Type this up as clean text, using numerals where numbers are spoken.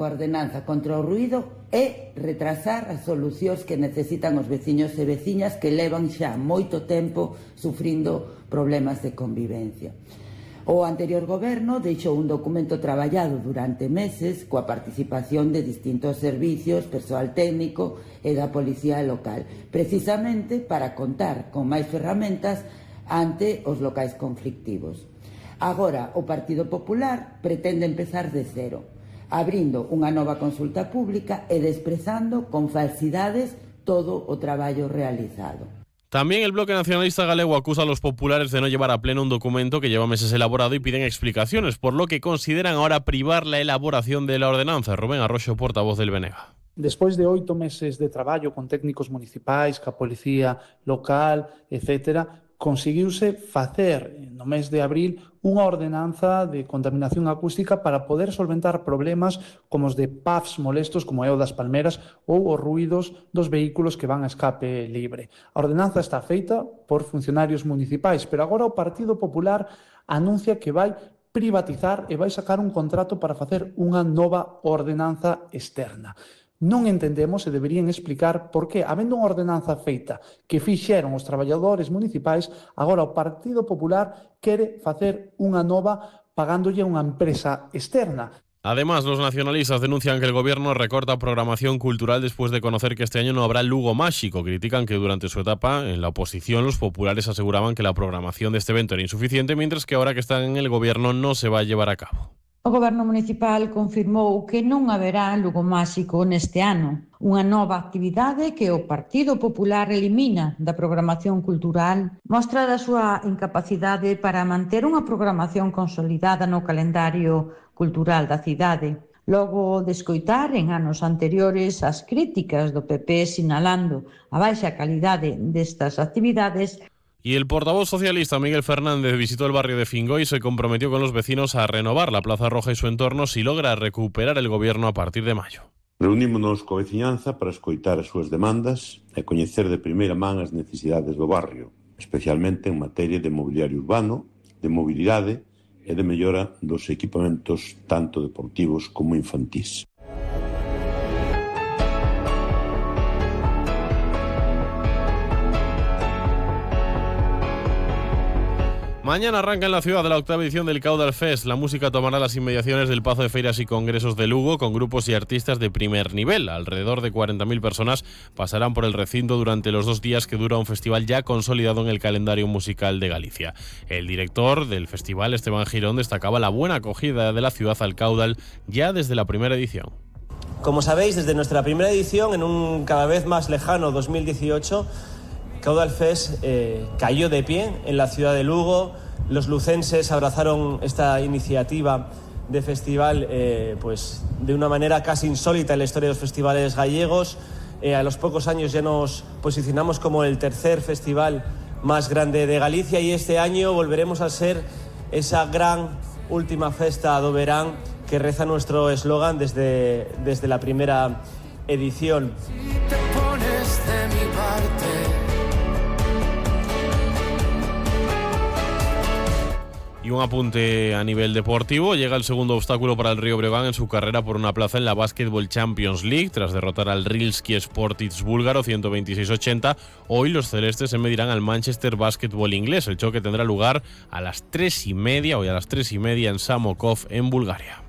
A ordenanza contra o ruído é retrasar as solucións que necesitan os veciños e veciñas que levan xa moito tempo sufrindo problemas de convivencia. O anterior goberno deixou un documento traballado durante meses coa participación de distintos servicios, persoal técnico e da policía local, precisamente para contar con máis ferramentas ante os locais conflictivos. Agora, o Partido Popular pretende empezar de cero, abrindo unha nova consulta pública e desprezando con falsidades todo o traballo realizado. También el Bloque Nacionalista Galego acusa a los populares de no llevar a pleno un documento que lleva meses elaborado y piden explicaciones, por lo que consideran ahora privar la elaboración de la ordenanza. Rubén Arroxo, portavoz del BNG. Despois de 8 meses de traballo con técnicos municipais, ca policía local, etc., conseguiuse facer no mes de abril unha ordenanza de contaminación acústica para poder solventar problemas como os de PAFs molestos, como é o das palmeras, ou os ruídos dos vehículos que van a escape libre. A ordenanza está feita por funcionarios municipais, pero agora o Partido Popular anuncia que vai privatizar e vai sacar un contrato para facer unha nova ordenanza externa. Non entendemos e deberían explicar por que, habendo unha ordenanza feita que fixeron os traballadores municipais, agora o Partido Popular quere facer unha nova pagándolle a unha empresa externa. Además, los nacionalistas denuncian que el gobierno recorta programación cultural después de conocer que este año no habrá Lugo Máxico. Critican que durante su etapa en la oposición los populares aseguraban que la programación de este evento era insuficiente, mientras que ahora que están en el gobierno no se va a llevar a cabo. O Goberno municipal confirmou que non haberá Lugo Máxico neste ano, unha nova actividade que o Partido Popular elimina da programación cultural, mostra da súa incapacidade para manter unha programación consolidada no calendario cultural da cidade. Logo de escoitar en anos anteriores as críticas do PP sinalando a baixa calidade destas actividades, Y el portavoz socialista Miguel Fernández visitó el barrio de Fingoy y se comprometió con los vecinos a renovar la Plaza Roja y su entorno si logra recuperar el gobierno a partir de mayo. Reunímonos coa veciñanza para escoitar as súas demandas e coñecer de primeira man as necesidades do barrio, especialmente en materia de mobiliario urbano, de mobilidade e de mellora dos equipamentos tanto deportivos como infantís. Mañana arranca en la ciudad la 8ª edición del Caudal Fest. La música tomará las inmediaciones del Pazo de Feiras y Congresos de Lugo con grupos y artistas de primer nivel. Alrededor de 40.000 personas pasarán por el recinto durante los 2 días que dura un festival ya consolidado en el calendario musical de Galicia. El director del festival, Esteban Girón, destacaba la buena acogida de la ciudad al Caudal ya desde la primera edición. Como sabéis, desde nuestra primera edición, en un cada vez más lejano 2018, Caudal Fest cayó de pie en la ciudad de Lugo. Los lucenses abrazaron esta iniciativa de festival pues de una manera casi insólita en la historia de los festivales gallegos. A los pocos años ya nos posicionamos como el tercer festival más grande de Galicia y este año volveremos a ser esa gran última festa do verán que reza nuestro eslogan desde la primera edición. Si te pones de mi parte. Y un apunte a nivel deportivo, llega el segundo obstáculo para el Río Breogán en su carrera por una plaza en la Basketball Champions League. Tras derrotar al Rilski Sportic búlgaro 126-80, hoy los celestes se medirán al Manchester Basketball inglés. El choque tendrá lugar a las 3:30, hoy a las 3:30 en Samokov, en Bulgaria.